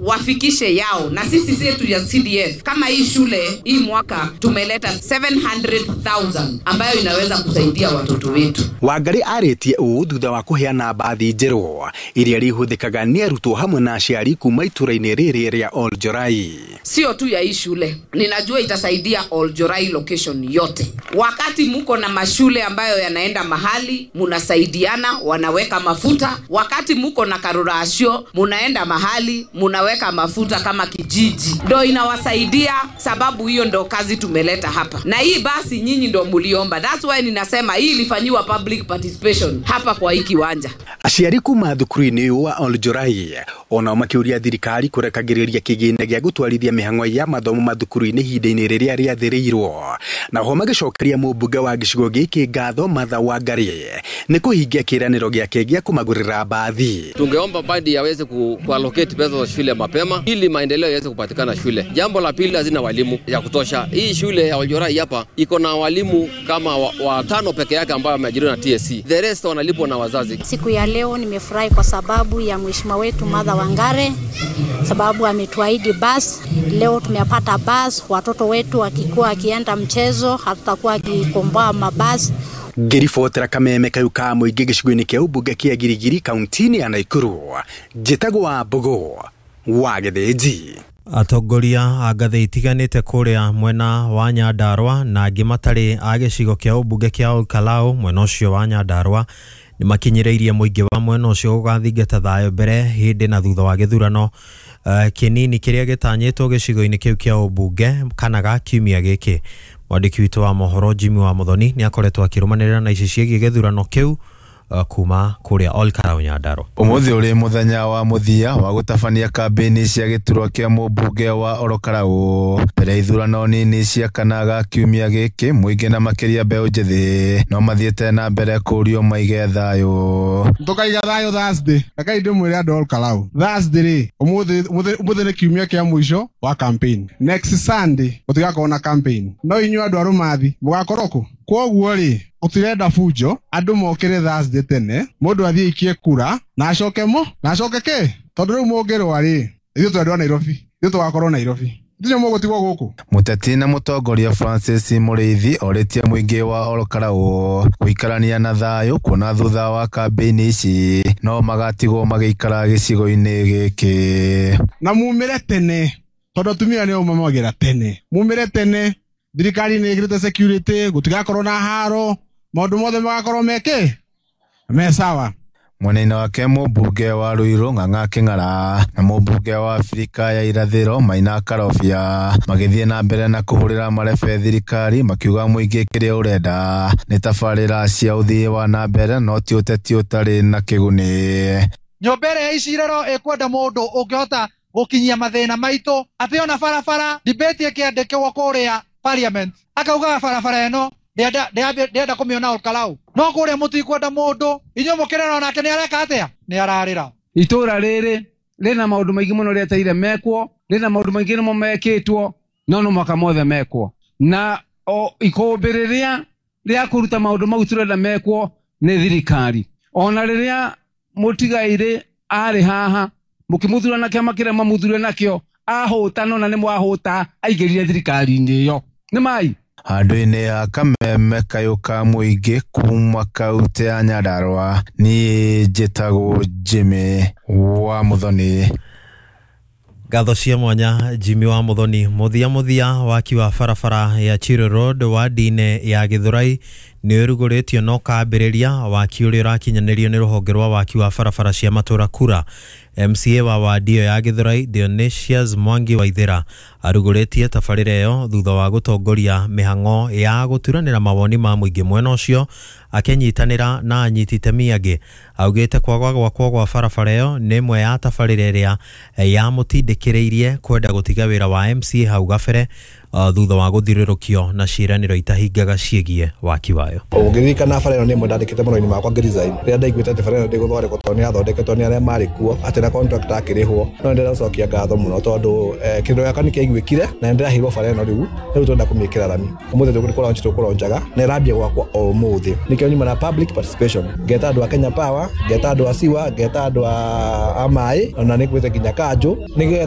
Wafikishe yao, na sisi yetu ya CDF kama hii shule hii mwaka tumeleta 700,000 ambayo inaweza kusaidia watoto wetu. Wangari arĩtie ũũ thutha wa kũheana mbathi njerũ iria rĩhũthĩkaga nĩ arutwo hamwe na aciari kuma itũra-inĩ rĩrĩ rĩa Oljorai. Sio tu ya hii shule, ninajua itasaidia Oljorai location yote. Wakati muko na mashule ambayo yanaenda mahali munasaidiana, wanaweka mafuta. Wakati muko na karurasio, munaenda mahali munaweka mafuta kama kijiji, ndo inawasaidia. Sababu hiyo ndo kazi tumeleta hapa, na hii basi nyinyi ndo muliomba. That's why ninasema hii ilifanyiwa public participation hapa kwa hii kiwanja. Aciari kuma thukuru-inĩ ũyũ wa Oljorai onao makĩũria thirikari kũrekagĩrĩria kĩgĩna gĩa gũtwarithia mĩhang'o ya mathomo mathukuru-inĩ ihinda-inĩ rĩrĩa rĩathĩrĩirwo, na ho magĩcokeria mũmbunge wa gĩcigo gĩkĩ ngatho Martha Wangari nĩ kũhingia kĩĩranĩro gĩake gĩa kũmagũrĩra mbathi. Tungeomba badi yaweze kuallocate pesa za shule mapema ili maendeleo yaweze kupatikana shule. Jambo la pili, hazina walimu ya kutosha. Hii shule ya Oljorai hapa iko na walimu kama watano peke yake ambao wameajiriwa na TSC. The rest wanalipwa na wazazi. Siku ya leo nimefurahi kwa sababu ya mheshimiwa wetu Martha Wangari, sababu ametuahidi bus. Leo tumepata bus, watoto wetu wakikuwa wakienda mchezo hatutakuwa akikomboa mabasi. Ngĩribotera kameme kayũ ka mũingĩ gĩcigo-inĩ kĩa ũmbunge kĩa Girigiri kaunti-inĩ ya Naikuru, njĩtagwo wa Mbũgũ wa Gĩthĩnji. Atongoria a ngathĩ itiganĩte kũrĩa mwena wa Nyandarua na angĩ matarĩ a gĩcigo kĩa ũmbunge kĩa Olkalau mwena ũcio wa Nyandarua nĩ makinyĩrĩirie mũingĩ wa mwena ũcio gũgathingata thayũ mbere hĩndĩ na thutha wa gĩthurano kĩnini kĩrĩa gĩtanyĩtwo gĩcigo-inĩ kĩu kĩa ũmbunge kana ga kiumia gĩkĩ. Mwandĩki witũ wa mohoro Jimmy wa Muthoni nĩ akoretwo akĩrũmanĩrĩra na ici ciĩgiĩ gĩthurano kĩu kuma kũrĩa Olkalau Nyandarua. Ũmũthĩ ũrĩ mũthenya wa mũthia wa gũtabania kambĩini cia gĩturwa kĩa mũmbunge wa Olokarau mbere ya ithurano nini cia kana ga kiumia gĩkĩ. Mũingĩ na makĩria mbeũ njĩthĩ no mathiĩte na mbere kũũrio maige thayũ. Tũkaiga thayũ Thursday. Rekei ndĩmwĩre andũ a Olkalau, Thursday rĩ, ũmũthĩ nĩ kiumia kĩa mũico wa campaign. Next Sunday gũtigakorwo na campaign, no inyuĩ andũ a Rũmathi mũgakorwo kũ? Kwoguo rĩ, gũtirenda bunjo, andũ mokĩre Thursday tene, mũndũ athiĩ aikie kura na acoke mo na acoke kĩ, tondũ rĩu mũngĩrũa rĩ, ithuĩ twendwa Nairobi, ithuĩ tũgakorwo Nairobi, ithuĩ mũgũtigwo gũkũ. Mũteti na mũtongoria Francis Mũrĩithi orĩtie mũingĩ wa Olkalau gũikarania na thayũ kuona thutha wa kambĩini ici no magatigwo magĩikara gĩcigo-inĩ gĩkĩ. Na mumĩre tene, tondũ atumia nĩo mamagĩra tene, mumĩre tene. Thirikari nĩ ĩkĩrĩte security, gũtigakorwo na haro, maũndũ mothe magakorwo meke me sawa. Mwena-inĩ wake mũmbunge wa Ruiru Ng'ang'a Kĩng'ara na mũmbunge wa Afrika ya Irathĩro Maina Karobia magĩthiĩ na mbere na kũhũrĩra marebe thirikari makiuga mũingĩ kĩrĩa ũrenda nĩ tabarĩra cia ũthii wa na mbere no ti ũteti ũtarĩ na kĩguni. Nyũmba ĩrĩa ya icirero ĩkwenda mũndũ ũngĩhota gũkinyia mathĩna maitũ, atĩ ona barabara debate ĩkĩandĩkwo kũrĩa parliament akaugaga barabara ĩno ndĩrenda kũmĩona Olkalau, no kũrĩa mũtikwenda mũndũ inyuĩ mũkĩrera onake nĩ areka atĩa, nĩ ararĩra. Itũra rĩrĩ rĩna maũndũ maingĩ mũno rĩeteire mekwo, rĩna maũndũ maingĩ nĩmo mekĩtwo no no mwaka mothe mekwo, na o ikũmbĩ rĩrĩa rĩa kũruta maũndũ mau tũrenda mekwo nĩ thirikari. Ona rĩrĩa mũtigairĩ arĩ haha mũkĩmũthura na kĩama kĩrĩa mamũthure nakĩo ahũta, no na nĩ mwahũta aingĩrire thirikari-inĩ ĩyo nĩ mai. Handũ-inĩ ha kameme kayũ ka mũingĩ kuma kaunti ya Nyandarua, niĩ njĩtagwo Jimmy wa Muthoni. Ngatho cia mwanya Jimmy wa Muthoni. Mũthia mũthia waki wa barabara ya Chiro Road wadi-inĩ ya Gĩthũrai nĩ ũrugũrĩtio na ũkambĩrĩria waki ũrĩa ũrakinyanĩrio nĩ rũhonge rwa waki wa barabara cia matũra kura. MCA wa wadi ĩyo ya Gĩthũrai Dionysius Mwangi Waithera arugũrĩtie tabarĩra ĩyo thutha wa gũtongoria mĩhang'o ya gũturanĩra mawoni ma mũingĩ mwena ũcio akĩnyitanĩra na anyiti itemi angĩ. Augĩte kwaga gwakwo gwa barabara ĩyo nĩ ĩmwe ya tabarĩra ĩrĩa yamũtindĩkĩrĩirie kwenda gũtiga wĩra wa MCA hau gabere thutha wa gũthirũrũkio na ciĩranĩro itahingaga ciĩgiĩ waki wayo. Ũngĩririkana bara ĩno nĩ ĩmwe ndandĩkĩte marũa-inĩ makwa ngĩresign, rĩrĩa ndaiguĩte atĩ bara ĩno ndĩgũthondekwo tondũ nĩ yathondeketwo nĩ arĩa marĩ kuo, atĩ na contractor akĩrĩhwo. No nĩndĩracokia ngatho mũno tondũ kĩrĩro gĩakwa nĩkĩaiguĩkire na nĩndĩraheirwo bara ĩno rĩu, rĩu tũrenda kũmĩkĩra rami. Ũmũthĩ tũkũlaunch tũkũlaunchaga na ĩrambia gwakwa o ũmũthĩ. Nĩkĩo nyuma na public participation, ngeta andũ a Kenya Power, ngeta andũ a Siwa, ngeta andũ a maĩ, ona nĩngwĩte nginya kanjũ, nĩgetha